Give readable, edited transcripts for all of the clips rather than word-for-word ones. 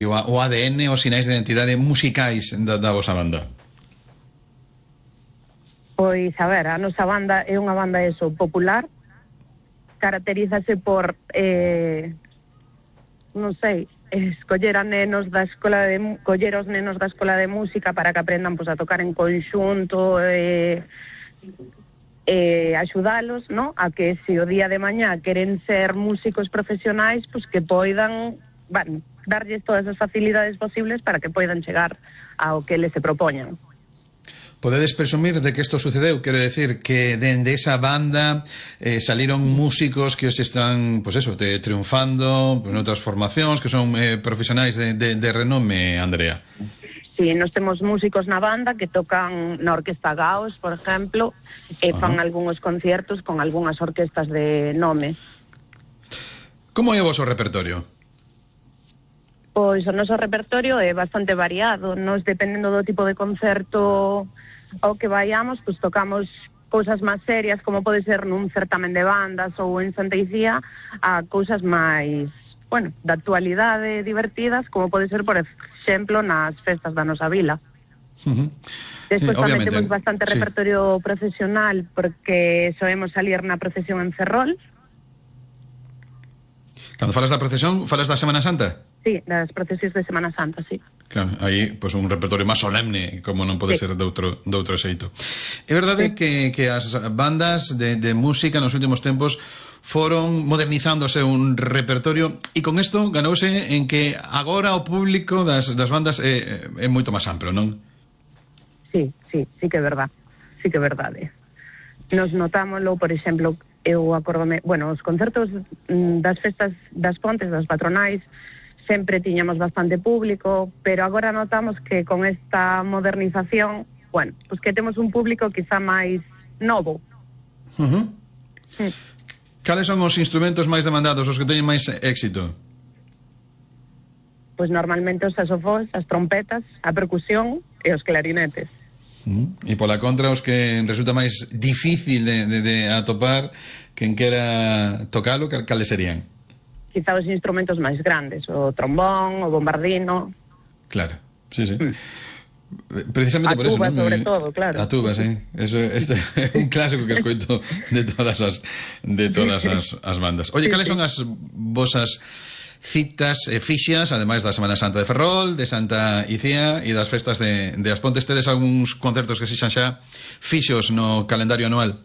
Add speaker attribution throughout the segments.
Speaker 1: o ADN, os sinais de identidade musicais da vosa banda?
Speaker 2: Pois, a ver, a nosa banda é unha banda popular, caracterízase por, non sei, coller os nenos da escola de música para que aprendan a tocar en conxunto, axudalos, ¿no?, a que se o día de mañá queren ser músicos profesionais, que poidan, darlles todas as facilidades posibles para que poidan chegar ao que les se propoñan.
Speaker 1: Podedes presumir de que isto sucedeu? Quero decir que dende esa banda saliron músicos que os están, triunfando noutras formacións, que son profesionais de renome, Andrea.
Speaker 2: Sí, nós temos músicos na banda que tocan na Orquesta Gaos, por exemplo, e fan algúns conciertos con algunhas orquestas de nome.
Speaker 1: Como é o voso repertorio?
Speaker 2: Pois o noso repertorio é bastante variado. Nos, dependendo do tipo de concerto ao que vayamos, tocamos cousas máis serias, como pode ser nun certamen de bandas ou en Santa Icía, a cousas máis, da actualidade, divertidas, como pode ser, por exemplo, nas festas da nosa vila. Despois tamén temos bastante repertorio procesional, porque soemos salir na procesión en Ferrol.
Speaker 1: Cando falas da procesión, falas da Semana Santa?
Speaker 2: Sí, das procesións de Semana Santa, sí.
Speaker 1: Claro, aí, un repertorio máis solemne, como non pode ser de outro xeito. É verdade que as bandas de música nos últimos tempos foron modernizándose un repertorio, e con isto ganouse en que agora o público das bandas é moito máis amplo, non?
Speaker 2: Sí que é verdade. Sí que é verdade. Nos notámoslo, por exemplo, eu acordome, os concertos das festas das Pontes, das patronais, sempre tiñamos bastante público, pero agora notamos que con esta modernización, que temos un público quizá máis novo.
Speaker 1: Cales son os instrumentos máis demandados, os que teñen máis éxito?
Speaker 2: Pois normalmente os saxofóns, as trompetas, a percusión e os clarinetes.
Speaker 1: E pola contra, os que resulta máis difícil de atopar, quen quera tocalo, cales serían?
Speaker 2: Quizá os instrumentos máis grandes, o trombón, o bombardino.
Speaker 1: Claro, sí. Precisamente por eso,
Speaker 2: a tuba, sobre todo, claro.
Speaker 1: A tuba, sí. Este é un clásico que escoito de todas as bandas. Oye, cales son as vosas citas fixas, ademais da Semana Santa de Ferrol, de Santa Icía e das festas de As Pontes? Tedes algúns concertos que sexan xa fixos no calendario anual?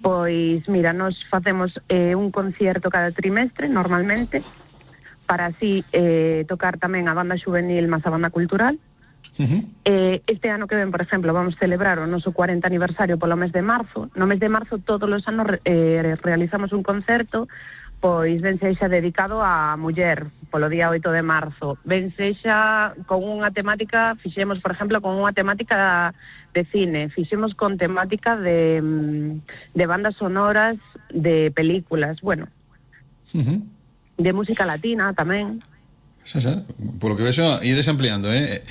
Speaker 2: Pois, mira, nos facemos un concierto cada trimestre, normalmente, para así tocar tamén a banda juvenil máis a banda cultural. Este ano que ven, por exemplo, vamos celebrar o noso 40 aniversario polo mes de marzo. No mes de marzo todos os anos realizamos un concerto, pois ben sexa dedicado á muller, polo día 8 de marzo. Ben sexa con unha temática, fixemos, por exemplo, con unha temática de cine, fixemos con temática de bandas sonoras, de películas, de música latina tamén.
Speaker 1: Xa, polo que vexo, ides ampliando, E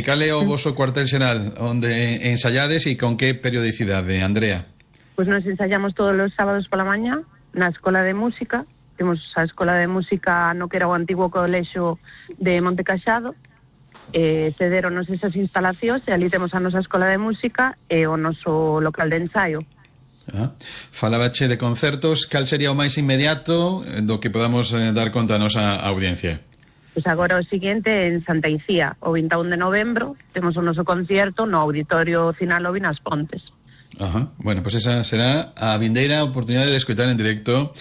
Speaker 1: cal é o voso cuartel xeral onde ensayades e con que periodicidade, Andrea?
Speaker 2: Pois nos ensayamos todos os sábados pola mañá na Escola de Música. Temos a Escola de Música no que era o antigo colexo de Monte Caxado. Cederonos esas instalacións e ali temos a nosa Escola de Música e o noso local de ensaio.
Speaker 1: Falabache de concertos, cal sería o máis inmediato do que podamos dar conta a nosa audiencia?
Speaker 2: Pois agora o seguinte en Santa Icía, o 21 de novembro, temos o noso concierto no Auditorio Cinalovi nas Pontes.
Speaker 1: Bueno, pois esa será a vindeira oportunidade de escoitar en directo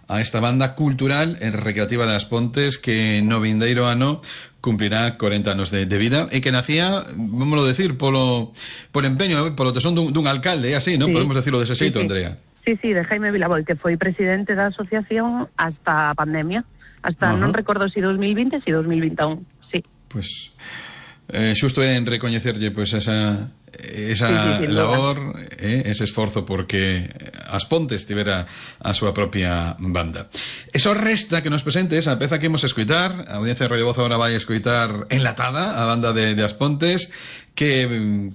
Speaker 1: a esta banda cultural e recreativa das Pontes que no vindeiro ano cumplirá 40 anos de vida e que nacía, vámoslo decir, polo empeño, polo tesón dun alcalde, é así, non? Podemos decirlo dese xeito, Andrea.
Speaker 2: Sí, de Jaime Vilaboi, que foi presidente da asociación hasta a pandemia, hasta non recordo si 2020 si 2021, sí.
Speaker 1: Pois xusto é en recoñecerlle esa labor, ese esforzo porque As Pontes tivera a súa propia banda. E só resta que nos presentes a peza que imos escoitar. A audiencia de Radio Voz agora vai escoitar enlatada a banda de As Pontes. Que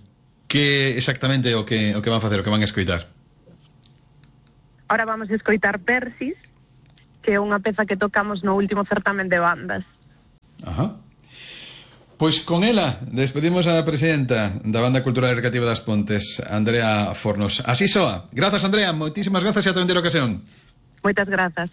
Speaker 1: exactamente o que van facer, o que van escoitar?
Speaker 2: Ahora vamos a escoitar Persis, que é unha peza que tocamos no último certamen de bandas.
Speaker 1: Ajá. Pois con ela despedimos a presidenta da Banda Cultural e Recreativa das Pontes, Andrea Fornos. Así soa. Grazas, Andrea, moitísimas grazas e ata outra ocasión.
Speaker 2: Moitas grazas.